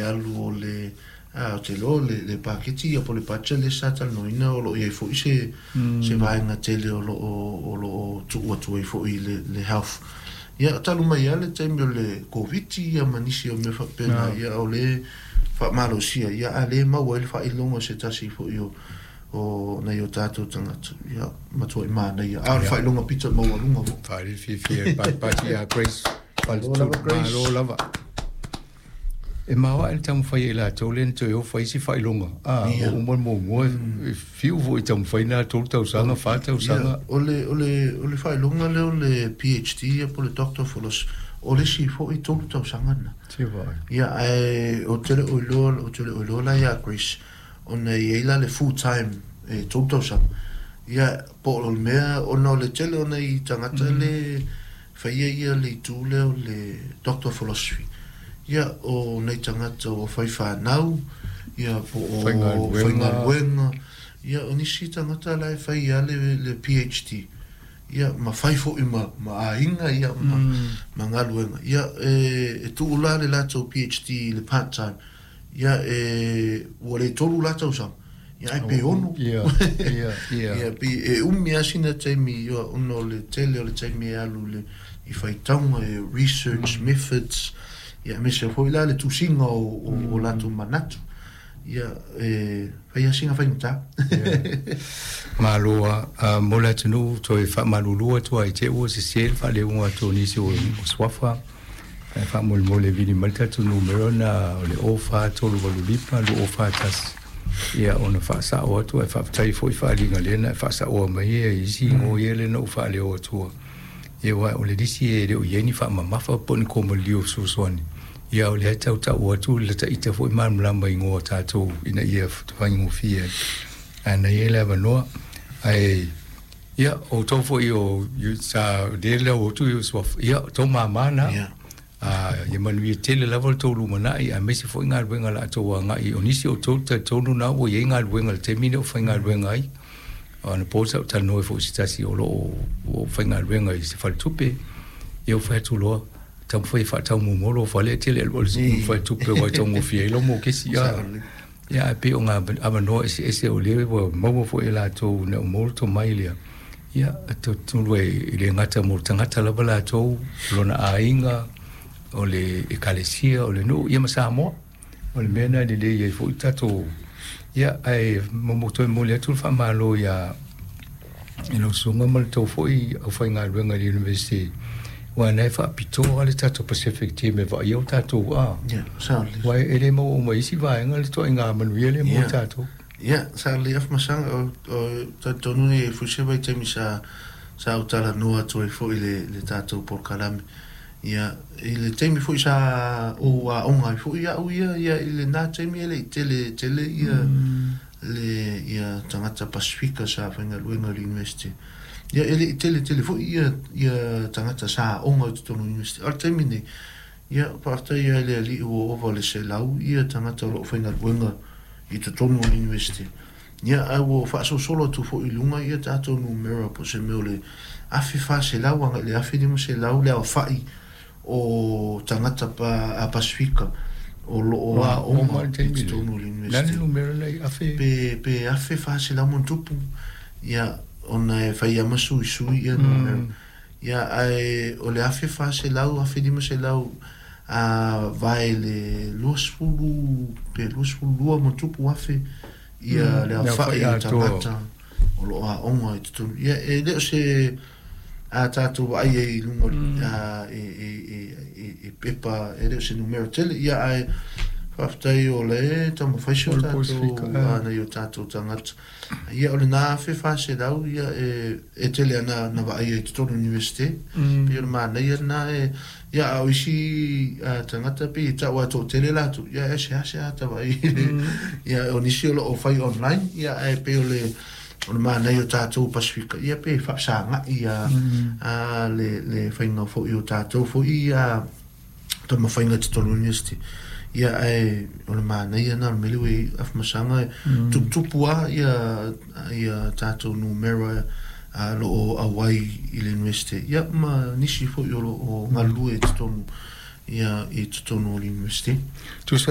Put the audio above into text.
alu o le ou te iloa le paketi ia po o le budget lea sa talanoaina o lo o i ai foi se vaega tele o lo o tuu atu ai foi i le health. Ia, talu mai lava le taimi o le Koviti ia ma nisi o mea faapena, ia o le faamalosia ia a le maua ai le faailoga o se tasi foi o nai o tatou tagata, ia matuai manaia. A o le faailoga pita maualuga foi. Faale fiafia patipati ia Grace. Malo lava, Grace. Malo lava. E maoaʻe le taumafai ai latou lea na toe o fai isi faailoga a ua uma le muamua e fiu foi taumafai na 3 tausaga, 4 tausaga. Ia, o le faailoga lea o le PhD ia po o le Doctor of Philosophy, o le isi foi 3 tausaga na. Se vaai. Ia, ae ou te le o iloa, ou te le o iloa la ia Grace, ona e i ai la le full time e 3 tausaga. Ia, po o le mea, ona o le tele o nai tagata le faia ia le itu lea o le Doctor of Philosophy. Ia, o nai tagata ua fai fanau, ia po o faigaluega. Faigaluega. Ia, o nisi tagata la e fai ia le PhD. Ia, ma fai foi ma aiga, ia, ma galuega. Ia, e tuu la le latou PhD i le part time. Ia, e, ua le 3 la tausaga. Ia, ai pe 6. Ia, ia, ia. Ia, pe e umi lava sina taimi, ia, ona o le tele o le taimi e alu le, i faitauga, e research methods, ia, aemaise foi la le tusiga o latou manatu. Ia, e fai lava sina faigata. Malo a mo le atunuu toe faamalulu atu ai te ua sesē le faaleuga atu o nisi o suafa ae faamolemole vili mai le tatou numera na o le 04385241 ia ona faasao atu ae faafetai foi faaaliga lea na e faasaoa mai ia isi igoa ia lea na ou faaleo atua ia ua o le lisi e le o i ai ni faamamafa po o ni komalio fesoasoani ia o lea tautau atu le taita foi malamalama igoa tatou ina ia faigofie ai ae na i ai le avanoa ae ia outou foi o sa lea lea o atu i suafa ia tou mamā na. A ia manuia tele lava le tou lumanai aemaise foi galuega la outou agai o nisi o tou talitonu na ua i ai galuega i le taimi lea o faigaluega ai ona po sa ou talanoa foi se tasi o lo o faigaluega i se faletupe ia ua fai atu loa taumafai e faataumomolo fale e tele alu alu faletupe ua taugofie ai lau mokesi a ia ae pei o ngā avanoa eseese o lea ua maua foi e latou na ua maua le tomai lea ia tonu e le gata mo le tagata lava latou lona aiga o le ekalesia o le nuu ia ma Samoa o le mea na lelei ai foi tatou ia ae mo toe momoli atu le faamalo ia i lau susuga ma le tou foi aufaigaluega i le University ua na e faapitoa le tatou Pacific Team e vaaia o tatou a Ia, sao lelei. Ua e le maua uma isi vaega le toaiga manuia le mo tatou. Ia, sa lelei Afamasaga o talitonu e foi se vaitaimi sa ou talanoa atu ai foi le tatou polokalame. Ia, i le taimi foi sa ou aoga ai foi au ia, ia i lena taimi e le i tele tele ia le ia tagata Pasifika sa faigaluega i le university. Ia, e le i tele tele foi ia tagata sa aoga i totonu o le university. A o le taimi nei, ia, faafetai ai le Alii ua ova le 100 ia tagata o lo o faigaluega i totonu o le university. Ia, ae ua faasolosolo atu foi i luga ia tatou numera po o se mea o le 1400 agai i le 1500 le aofai o tagata a Pasifika o lo o aoga le i taimi totonu o le le university. Numera nei afe Pe 1400 ma ona tupu, ia, ona e fai lava ma suisui ia numera. Ia, ae o le 1400, 1500 a vae le 20 pe 22 ma tupu afe ia le le aofai aofai o atoa. Tagata o lo o aoga i totonu. Ia, e le o se a tatou vaai ai i luga a, i pepa, e le o se numera tele. Ia, ae faafetai o le taumafai si o O le tatou Pasifika, ah. nai o tatou tagata. Ia, o lena 1400 ia e tele ana na vaai ai i totonu o university. Pei o le manaia lena e ia a o isi tagata pei e tau a toatele latou ia e seasea ata vaai ia o nisi o lo o fai online ia ae pei o le manaia o tatou Pasifika ia pe faafesagai ia le faiga foi o tatou foi ia taumafaiga i totonu o university. Ia, ae o le manaia na o le mea lea ua i ai Afamasaga e tuputupu a ia tatou numera lo o auai i le university ia ma nisi foi o lo o galulue i totonu ia i totonu o le university. Tusa.